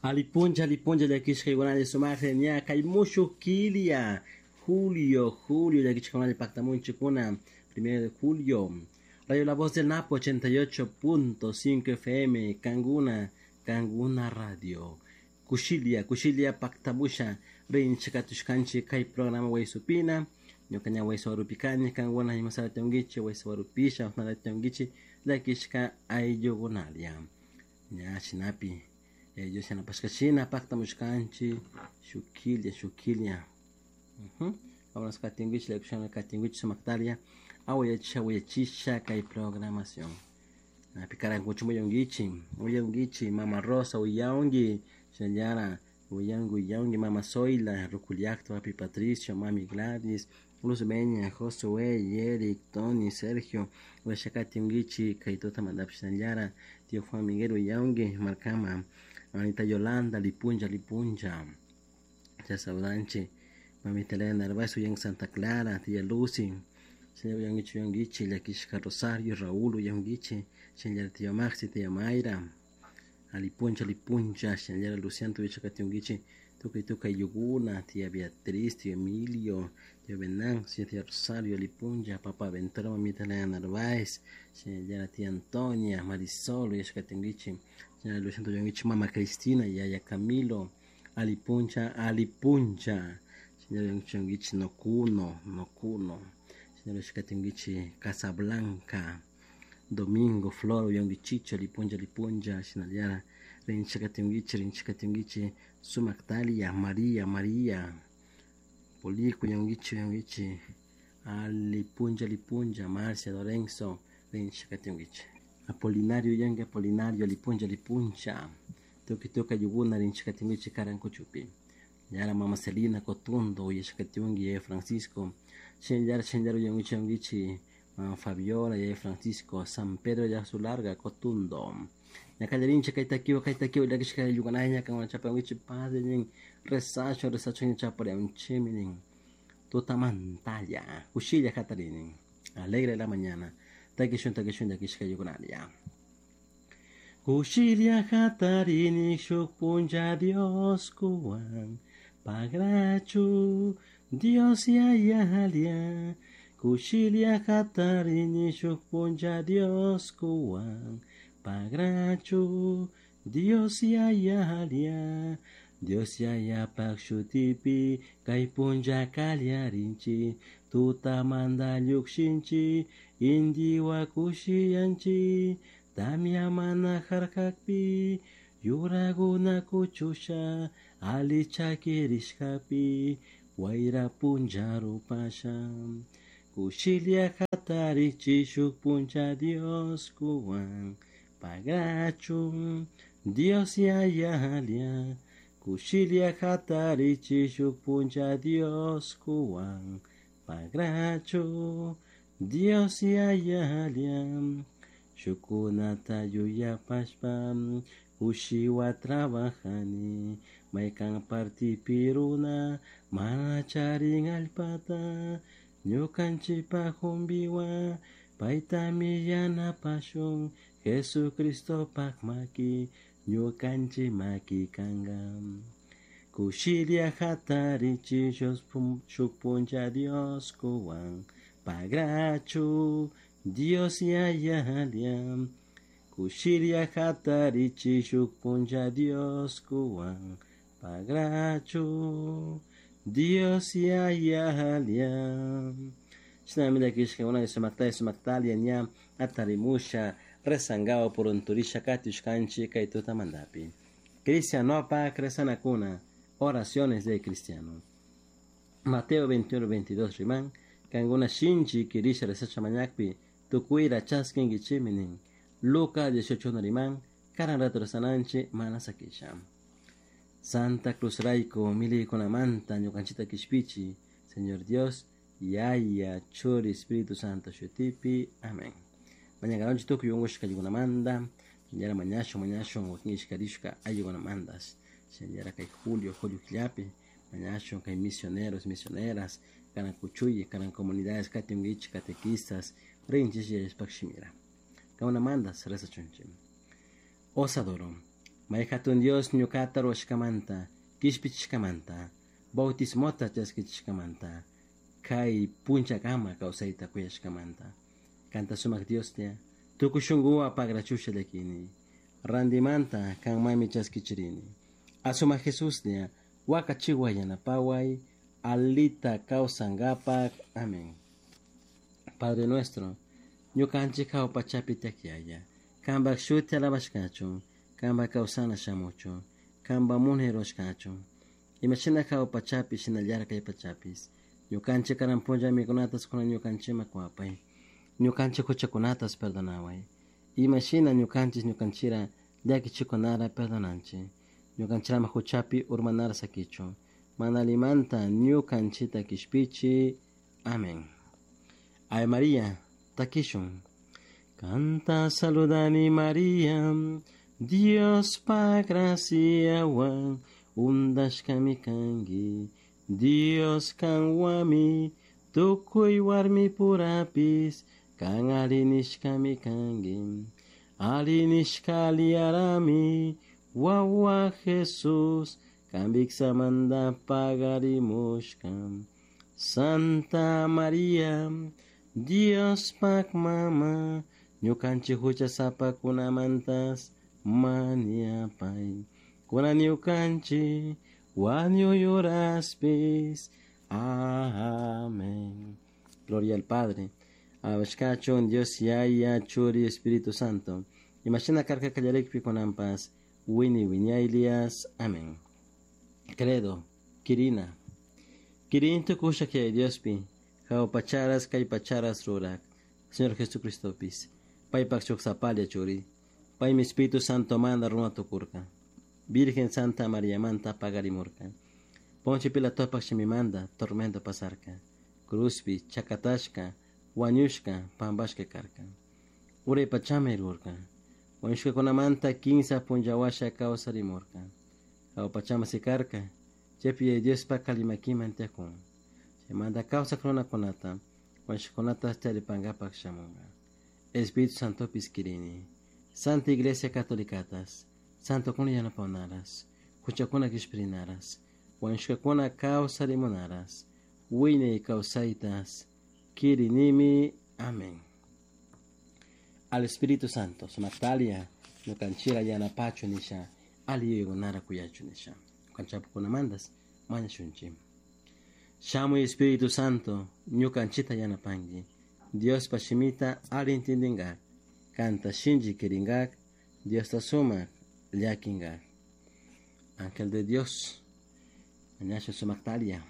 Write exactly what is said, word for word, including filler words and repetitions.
Alipuncha, alipuncha, llakishkaykunalla sumaqlla ña kay mushuq killa, julio, julio, llakishkakunalla pactamunchikuna, primero de julio. Radio La Voz del Napo ochenta y ocho punto cinco F M, Canguna, Canguna Radio. Kushilia, Kushilia pactamusha, rinchikatushkanchi kay programa Waysupina, ñuka ña Waysuwarupikani, Canguna imasarationguichi, Waysuwarupisha, osnarationguichi, llakishka ayllukunalia. Ña shinapi, ellos yanapashkashina pactamushkanchi, shukilia, shukilia. Uh-huh. Vámonos katinguichi, llakishana katinguichi sumaktalia, awayachisha, awayachisha kay programación. Napi karankuchu muyunguichi, muyunguichi, Mama Rosa, uyaungi, shinallara, uyangu, uyaungi, Mama Zoila, Ruculiacto, Papi Patricio, Mami Gladys, Luz Beña, Josué, Eric, Tony, Sergio, Huachacati kay tuta mandapi shinallara, Tío Juan Miguel, uyaungi, Marcama, Anita Yolanda, Lipuncha, Lipuncha, ya saudanchi, Mamita Elena Narváez, Uyan Santa Clara, Tía Lucy, Señor Uyanguichi, Uyanguichi, Llakishka Rosario, Raúl, Uyanguichi, Señora Tía Maxi, Tía Mayra, Alipuncha, Lipuncha, Señora Luciano, Tuichacatiunguichi, Tuca y Tuca Yuguna, Tía Beatriz, Tío Emilio, Tío Venancio, Tía Rosario, Lipuncha, Papá Ventura, Mamita Elena Narváez, Señora Tía Antonia, Marisol, Uyanguichi, Señora Luciano, Uyanguichi, Mama Cristina, Yaya Camilo, Alipuncha, Alipuncha, Señora Uyanguichi, Nocuno, Nocuno, Señora Uyanguichi, Casablanca, Domingo, Flor, Uyanguichicho, Lipuncha, Lipuncha, Sinaliara, Rinchakatinguichi, Rinchakatinguichi, Sumactalia, María, María, Polico, Uyanguichi, Uyanguichi, Alipuncha, Lipuncha, Marcia, Lorenzo, Rinchakatinguichi, Apolinario, Uyangue, Apolinario, Lipuncha, Lipuncha, Tuki Tuka, Yuguna, Rinchakatinguichi, Karankuchupi, Yara, Mama Celina, Cotundo, Uyashakatingui, Francisco, Shenyara, Shenyara, Uyanguichi, Uyanguichi, Mama Fabiola, Yaya Francisco, San Pedro, Yasu Larga, Cotundo. Ñacallarincha, Kaitakiwa, Kaitakiwa, Llakishka, Yuganaya, Kangunachapanguichi, Padre, nin, Resacho, Resacho, Ñachapareunchiminin, Tutamantalla, Kushilla, Catarinin, Alegre la mañana, Takishun, Takishun, Llakishka, Yuganaya. Kushilla, Catarini, Shukpuncha, Dios, Kuan, Pagrachu, Dios, Yayalia. Kushilia Catarini, Shukpuncha, Dios, Kuan, Pagrachu, Dios Yayalia. Dios Yaya Pakshutipi, Kaipunja Kalyarinchi, Tutamanda Llukshinchi, Indiwa Kushiyanchi, Tamia mana harkakpi, Yuraguna kuchusha, Ali chakirishkapi, Waira punja rupasha. Kushilia hatarichi shuk puncha Dios kuwan, Pagrachu, Dios yayalia. Kushilia hatarichi shuk puncha Dios kuwan, Pagrachu, Dios yayalia. Shukunata yuyapashpa, kushiwa trabajani, maykan partipiruna, mana charin allpata, ñukanchipa humbiwa, paytami yanapashun, Jesucristopak maki, ñukanchi maki kanga. Kushilia hatarichi shuk puncha Dios kuwan, Pagrachu, Dios yayalia. Kushilia hatarichi shuk puncha Dios kuwan, Pagrachu, Dios yayalia. Shinami llakishkakuna sumakta sumaktalia ña atarimusha rezangao purunturisha katushkanchi kay tutamandapi. Cristianopa kresanakuna, oraciones de cristiano. Mateo veintiuno veintidós riman, kanguna shinchi kirisha resacha mañakpi, tukuira chaskingichiminin. Lucas dieciocho riman, karan rato resananchi manasakisha. Santa Cruz Raico, milikunamanta, ñukanchita kishpichi, Señor Dios, Yaya, Churi, Espíritu Santo, Shutipi, amén. Mañana tukuy ungushka ayugunamanda, Señora mañasho, mañasho, wakinishkarishka ayugunamandas. Señora kay Julio, Julio Killapi, mañasho kay misioneros, misioneras, karan kuchuyi, karan comunidades, katimguichi, catequistas, rinchis y espakshimira. Kaunamandas, reza chunchi. Os adoro. May hatun Dios ñuqata ruwashkamanta, kishpichishkamanta, bautismota chaskichishkamanta, kay punchakama kawsayta kuyashkamanta. Kanta sumak Dioslla, tukuy shunkuwan pagrachusha llakini. Randimanta kanmanmi chaskichirini. Asumak Jesuslla, wakachiway yanapaway, alita kawsankapak. Amén. Padre nuestro, ñukanchik hawa pachapi tiyak Yaya, kanpak shuti alabashkachun, kanpak kawsana shamuchun, kanpak munay rurashkachun. Imashina hawa pachapi shinallara kay pachapis. Ñukanchik karan punlla mikunatas kunan ñukanchikman kuwapay. Ñukanchik huchakunatas perdonaway. Imashina ñukanchik ñukanchira llakichikunara perdonanchik. Ñukanchirama huchapi urmanara sakichun. Mana allimanta ñukanchita kishpichi. Amén. Ave María, takishun. Kanta saludani María, Diospa graciawan undashkami kanki. Dios kanwami, tukuy warmi purapis, kan alli nishkami kanki. Alli nishka aliyarami, wawa Jesús, kan viksamanta pagarimushka. Santa María, Diospak mama, ñukanchik huchasapakunamantas mañapay. Kunan ñukanchik wañuy uraspis. Amén. Gloria al Padre. Alabashkachun Dios Yaya, Churi, Espíritu Santo. Imashina karka kallarikpi kunanpas, wini wiñaylias. Amén. Credo, Kirina. Kirin tukushak Yaya Diospi, hawa pacharas kay pacharas rurak. Señor Jesucristopis, paypak shuk sapalla churi. Paymi Espíritu Santo manda runa tukurka. Virgen Santa María manta pagarimurka. Poncio Pilatopak shimimanda tormento pasarka. Cruzpi chakatashka, wañushka, pampashka karka. Uray pachama rirka. Wañushkakunamanta kimsa punlla washa kawsarimurka. Hawa pachama sikarka, chaypi Yaya Diospa alli makiman tiyakun. Chaymanta kawsak runakunata, wañushkakunata charipankapak shamunka. Espíritu Santopis kirini. Santa Iglesia Catolicatas, Santokuna yanapawnaras, huchakuna kishpirinaras, wañushkakuna kawsarimunaras, wiñay kawsaytas, kirinimi. Amén. Al Espíritu Santo, sumaktalia, ñukanchira yanapachu nisha, alli yuyaykunara kuyachu nisha. Ñukanchapukunamantas mañashunchik. Shamuy Espíritu Santo, ñukanchita yanapanki. Diospa shimita alli intindinkak, kanta shinchi kirinkak, Diosta sumak llakinkak. Ángel de Dios, mañashun sumaktalia.